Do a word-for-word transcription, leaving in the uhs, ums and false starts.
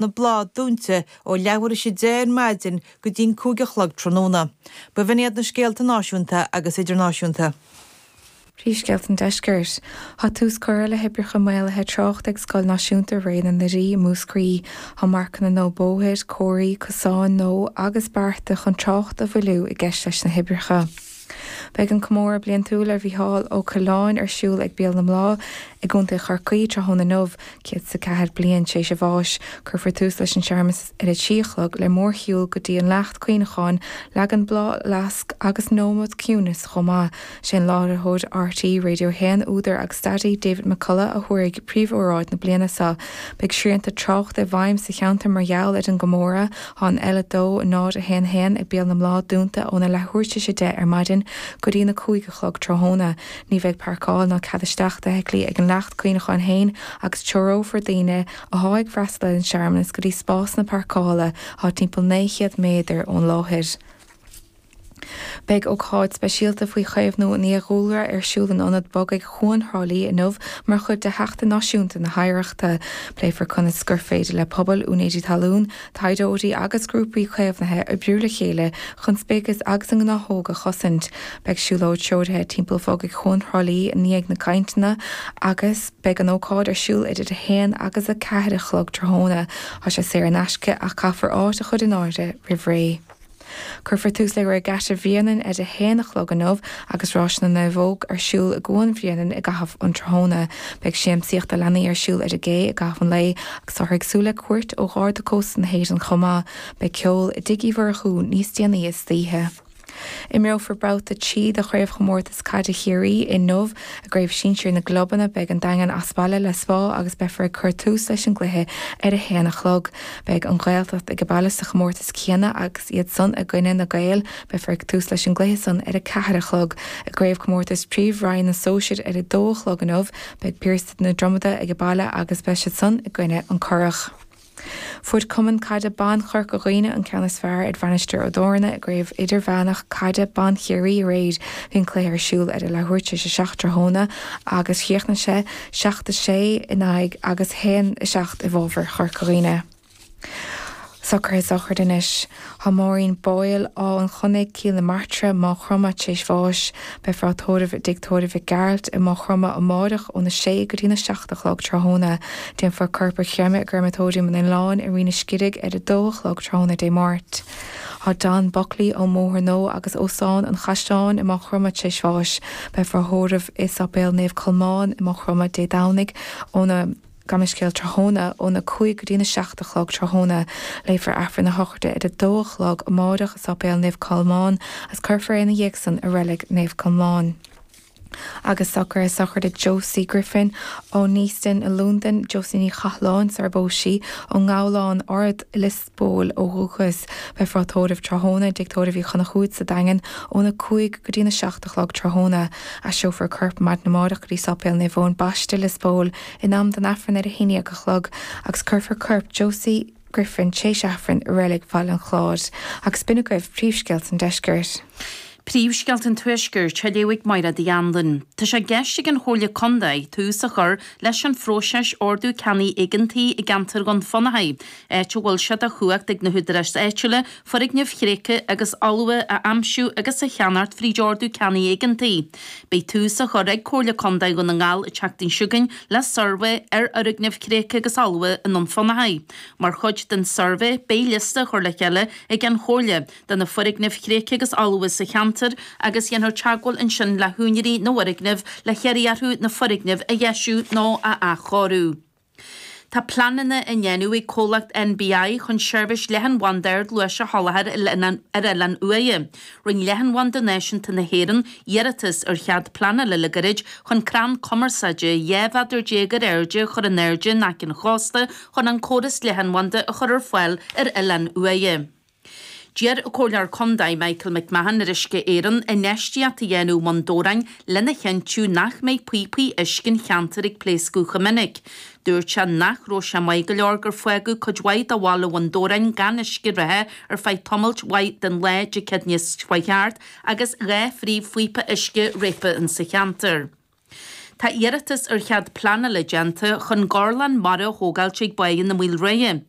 na Bláth dúnta ó leathuair théis a deich ar maidin go dtí'n cúig a chlog tráthnóna. Ba bh'in iad na scéalta náisiúnta agus idirnáisiúnta. Príomhscéalta an Deiscirt. Tá tús curtha le hoibreacha maolaithe tráchta ag Scoil Náisiúnta Ré na nDoirí i Múscraí. Tá marcanna nua bóthair, comharthaí, cosáin nua agus bearta chun trácht a mhoilliú i gceist leis na hoibreacha. Beidh an comóradh bliantúil ar Mhícheál Ó Coileáin ar siúl ag Béal na mBláth i gContae Chorcaí tráthnóna inniu, céad is a ceathair bliain tar éis a bháis. Cuirfear tús leis an searmanas ar a trí a chlog le mórshiúl go dtí an leacht cuimhneacháin, leagan bláthfhleasc agus nóiméad ciúnais chomh maith. Sé an láithreoir RTÉ Radio a haon, údar agus staraí David McCullough a thabharfaidh príomhóráid na bliana seo. Beidh srianta tráchta i bhfeidhm sa cheantar mar gheall ar an gcomóradh. Tá an L a dó náid a haon haon ag Béal na mBláth dúnta óna leathuair tar éis a deich ar maidin go dtí na cúig a chlog tráthnóna. Ní bheidh páirceáil ná cead isteach d'fheithiclí ag an leacht cuimhneacháin féin agus treorófar daoine atá ag freastal ar an searmanas go dtí spásanna páirceála atá timpeall naoi chéad méadar ón láthair. Beidh ócáid speisialta faoi chaomhnú an fhiadhúlra ar siúl in Ionad Bogaigh Chuan Thrá Lí inniu mar chuid de Sheachtain Náisiúnta na hOidhreachta. Pléifear conas gur féidir le pobail, úinéirí talún, taighdeoirí agus grúpaí caomhnaithe oibriú le chéile chun speicis agus a ngnáthóga a chosaint. Beidh siúlóid treoraithe timpeall bhogaigh Chuan Thrá Lí i ndiaidh na gcainteanna agus beidh an ócáid ar siúl idir a haon agus a ceathair a chlog tráthnóna. Tá sé saor in aisce ach caithfear áit a chur in áirithe roimh ré. Cuirfear tús le Regatta Bhréanainn ar a haon a chlog inniu agus rás na naomhóg ar siúl i gCuan Bhréanainn i gcaitheamh an tráthnóna. Beidh siamsaíocht do leanaí ar siúl ar an gcé i gcaitheamh an lae agus táthar ag súil le cuairt ó Gharda Cósta na hÉireann chomh maith. Beidh ceol i dTigh Uí Mhurchú níos déanaí istoíche. Imreofar babhta trí de chraobhchomórtas caide Chiarraí inniu i gcraobh sinsir na gclubanna. Beidh an Daingean as baile le Spa agus beifear ag cur tús leis an gcluiche ar a haon a chlog. Beidh an Ghaeltacht ag baile sa chomórtas céanna agus iad san i gcoinne na Gaeil. Beifear ag tús leis an gcluiche san ar a ceathair a chlog. I gcraobhchomórtas Príomh-Roinn na Sóisear ar a dó a chlog inniu, beidh Piarsaigh na Dromoda ag baile agus beidh siad san i gcoinne an Currach. Fuair Cumann Caide Ban Chorca Dhuibhne an ceann is fearr ar Mhainistir Ó dTorna i gcraobh idirmheánach caide ban Chiarraí aréir. Bhí an cluiche ar siúl ar a leathuair tar éis a seacht tráthnóna agus chríochnaigh sé seacht a sé in aghaidh agus haon a seacht i bhfabhar Chorca Dhuibhne. Socruithe sochraide anois. Tá Maureen Boyle Áth an Chonnaigh, Cill na Martra, Maigh Chromtha tar éis bháis. Beifear á tórramh i dTigh Tórraimh Mhic Gearailt i Maigh Chromtha amárach óna sé go dtí na seacht a chlog tráthnóna. Déanfar corp a chreimeadh i gcreimeatóiriam an Oileáin i Rinn an Scirig ar a dó a chlog tráthnóna Dé Máirt. Tá Don Buckley ón mBóthar Nua agus Óstán an Chaisleáin i Maigh Chromtha tar éis bháis. Beifear á thórramh i Sáipéal Naomh Colmán i Maigh Chromtha Dé Domhnaigh óna Gabh mo leithscéal tráthnóna óna cúig go dtí na seacht a chlog tráthnóna. Léifear Aifreann na sochraide ar a dó a chlog amárach i Sáipéal Naomh Colmán agus cuirfear é ina dhiaidh san i Reilig Naomh Colmán. Agus socruithe sochraide Josie Griffin ó Neasden i Londain, Josie Ní Chathláin sar a phós sí ón nGabhlán Ard Lios Póil ó dhúchas. Beifear á tórramh tráthnóna i dTigh Tórraimh Uí Chonchúir sa Daingean óna cúig go dtí na seacht a chlog tráthnóna. Aistreofar a corp maidin amárach go dtí Sáipéal Naomh Eoin Baiste Lios Póil in am don Aifreann ar a haon déag a chlog agus cuirfear corp Josie Griffin tar éis Aifrinn i Reilig Bhaile an Chláir. Agus b'in agaibh príomhscéalta an deiscirt. Príomhscéalta an Tuaiscirt á léamh ag Máire Uí Anluain. Tá sé i gceist ag an Chomhairle Contae tús a chur leis an phróiseas ordú ceannaigh éigeantaigh i gceantar Dhún Fionnachaidh, áit a bhfuil sé de chumhacht ag na húdaráis áitiúla foirgnimh thréigthe agus fholmha a aimsiú agus a cheannacht fríd ordú ceannaigh éigeantaigh. Beidh tús á chur ag Comhairle Contae Dhún na nGall an tseachtain seo chugainn le suirbhé ar fhoirgnimh thréigthe agus fholmha i nDún Fionnachaidh. Mar chuid den suirbhé beidh liosta á chur le chéile ag an Chomhairle de na foirgnimh thréigthe agus fholmha sa cheantar agus dhéanfar teagmháil ansin le húinéirí na bhfoirgneamh le hiarraidh orthu na foirgnimh a dheisiú nó a athchóiriú. Tá pleananna á ndéanamh ag comhlacht NBI chun seirbhís leathanbhanda ardluais a sholáthar ar Oileán Uaighe. Rinne Leathanbhanda Náisiúnta na hÉireann iarratas ar chead pleanála le gairid chun crann cumarsáide dhá mhéadar déag ar airde a chur in airde in aice an chósta chun an córas leathanbhanda a chur ar fáil ar Oileán Uaighe. D'iarr an Comhairleoir Contae Michael McMahon ar Uisce Éireann infheistíocht a dhéanamh i mBun Dobhráin lena chinntiú nach mbeidh píopaí uisce an cheantair ag pléascadh chomh minic. Dúirt sé nach raibh sé maith go leor gur fágadh cuid mhaith de bhaile Bhun Dobhráin gan uisce reatha ar feadh tamailt mhaith den lá Dé Céadaoine seo chuaigh thart agus dhá phríomhphíopa uisce réabtha insa cheantar. Tá iarratas ar chead pleanála déanta chun gorlann mara a thógáilt ag Báighe na Maoilrua.